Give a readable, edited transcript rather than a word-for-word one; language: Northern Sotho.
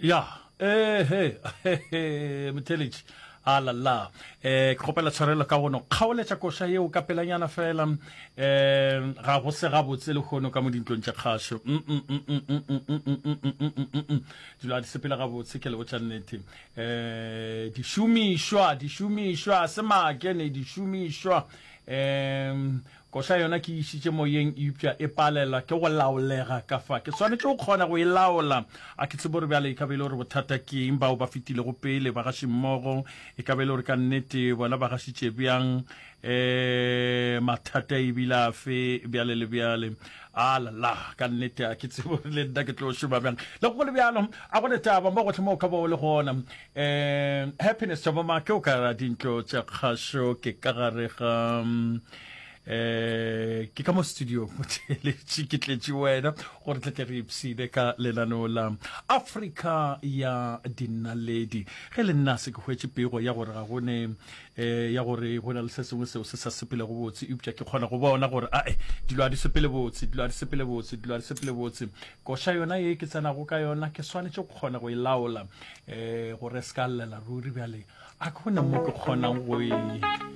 Ya, ehe, motheletši, alala. Eh, ke kgopela tshwarelo ka gono kgaoletša koša yeo ka pelanyana fela. Eh, ga go se gabotse lehono ka mo dintlong tša kgašo. Mm, mm, mm, mm, mm, mm, mm, mm, mm, mm, mm, mm, mm. Dilo ga di sepele gabotse, ke le botša nnete. Eh, dišomišwa, dišomišwa, se make ne dišomišwa. Eh, Koša yona ke e išitše moyeng eupša e palelwa ke go laolega ka fa. Ke swanetše go kgona go e laola. A ke tsebe gore bjale e ka be e le gore bothata ke eng, bao ba fetilego pele, bagašimmogo, e ka be e le gore ka nnete bona ba gašitše bjang, um mathata e bile afe, bjale le bjale. Alala, ka nnete a ke tsebe gore le nna ke tlo šoma bjang. Le go le bjalo, a go ne taba mo gohle mo o ka ba o le gona. Um Happiness Thabamake o ka ra dintlo tša kgašo ke ka gare ga um ke ka mo studio motheeletši ke tletše wena gore tle tle re ipshine ka lenaneo la Afrika ya dinaledi. Ge le nna se ke hwetše pego ya gore ga go ne um ya gore go na le se sengwe seo se sa sepelego botse, eupša ke kgona go bona gore ae dilo ga di sepele botse, dilo ga di sepele botse, dilo ga di sepele botse. Koša yona ye ke tsenago ka yona ke swanetše go kgona go e laola um gore e se ka llela ruri. Bjale a ke gona mo ke kgonang go e.